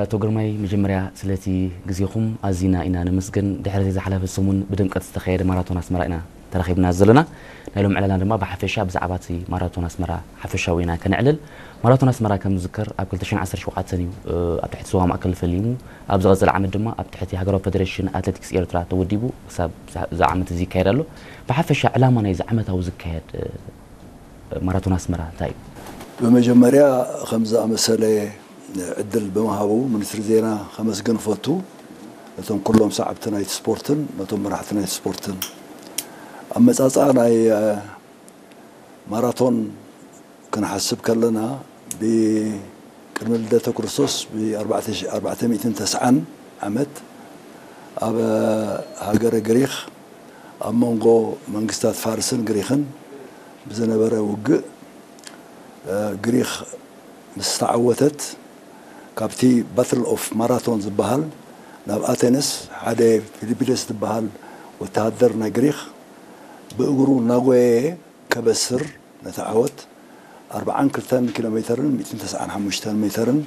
ኣቶ ግርማይ፣ መጀመርያ ስለቲ ግዜኹም ኣዚና ኢና ነመስግን። ድሕሪ ዝሓለፈ ሰሙን ብድምቀት ዝተኻየደ ማራቶን ኣስመራ ኢና ተራኺብና ዘለና። ናይ ሎም ዕላልና ድማ ብሓፈሻ ብዛዕባ እቲ ማራቶን ኣስመራ ሓፈሻዊ ኢና ከነዕልል። ማራቶን ኣስመራ ከም ዝዝከር ኣብ ክልተ ሽሕን ዓሰርተ ሸውዓተን እዩ ኣብ ትሕቲ ዞባ ማእከል ፈሊሙ። ኣብ ዝቐጽል ዓመት ድማ ኣብ ትሕቲ ሃገራዊ ፈደሬሽን ኣትሌቲክስ ኤርትራ ተወዲቡ ክሳብ እዚ ዓመት እዚ ይካየድ ኣሎ። ብሓፈሻ ዕላማ ናይዚ ዓመታዊ ዝካየድ ማራቶን ኣስመራ እንታይ እዩ? ብመጀመርያ ከምዚ ኣመሰለ ዕድል ብምሃቡ ሚኒስትሪ ዜና ከመስግን እፈቱ። ነቶም ኩሎም ሰዓብቲ ናይቲ ስፖርትን ነቶም መራሕቲ ናይቲ ስፖርትን። ኣመጻጽኣ ናይ ማራቶን ክንሓስብ ከለና ብቅድሚ ልደተ ክርስቶስ ብ ኣርባዕተ ሚእትን ተስዓን ዓመት ኣብ ሃገረ ግሪኽ ኣብ መንጎ መንግስታት ፋርስን ግሪኽን ብዝነበረ ውግእ ግሪኽ ምስ ተዓወተት ካብቲ battle of marathon ዝበሃል ናብ ኣቴነስ ሓደ ፊሊፒደስ ዝበሃል ወተሃደር ናይ ግሪኽ ብእግሩ እናጎየየ ከበስር ነቲ ዓወት ኣርብዓን ክልተን ኪሎ ሜተርን ሚእትን ተስዓን ሓሙሽተን ሜተርን